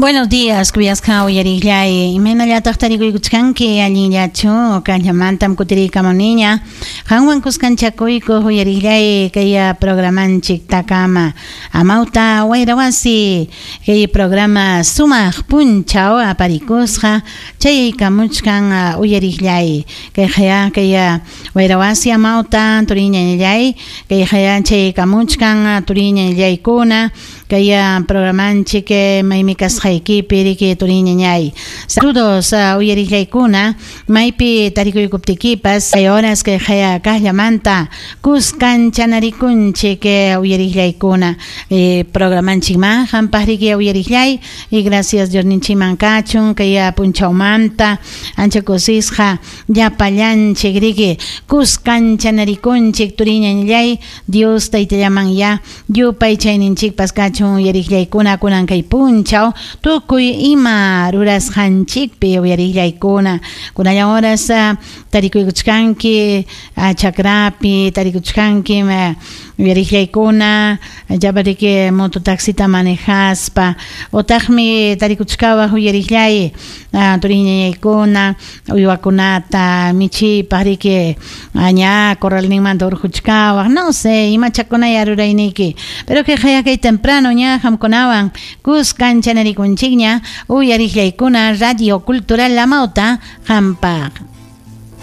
Buenos días, kuyasqa uyariqllay. Imaynallataq tarikuykuchkanki allinllachu? Kaqllamantam kutiriykamuniña. Qanwan kuskanchakuykuq uyariqllay kay programanchik takama. Amawta Wayrawasi kay programa sumaq punchaw aparikusqa chayaykamuchkan uyariqllay. Kayqaya kay Wayrawasi amawta turiñañallay kayqaya chayaykamuchkan turiñañallaykuna. Kay programanchik maymi kasqaykipi riki turiñañay. Saludos uyariqllaykuna maypi tarikuykuptikipas kay horas kay qaya kaqllamanta kuskanchanarikunchik uyariqllaykuna programanchikman qampaq riki uyariqllay y gracias Diosninchikman kachun kay punchawmanta ancha kusisqa llapallanchik riki kuskanchanarikunchik turiñañallay Dios taytallaman ya Yupaychayninchikpas kachun uyariqllaykuna kunan kay punchaw tukuy ima rurasqanchikpi uyariqllaykuna kunallan horas tarikuykuchkanki chakrapi tarikuchkanki uyariqllaykuna llapariki mototaxita manejaspa utaqmi tarikuchkawaq uyariqllay turiñañaykuna uywakunata michiypaq riki ña corralninmanta urquchkawaq no sé imachakunaya rurayniyki pero kay kay temprano ña qamkunawan kuskan chanarikunchikña uyariqllaykuna Radio Cultural Amauta qampaq.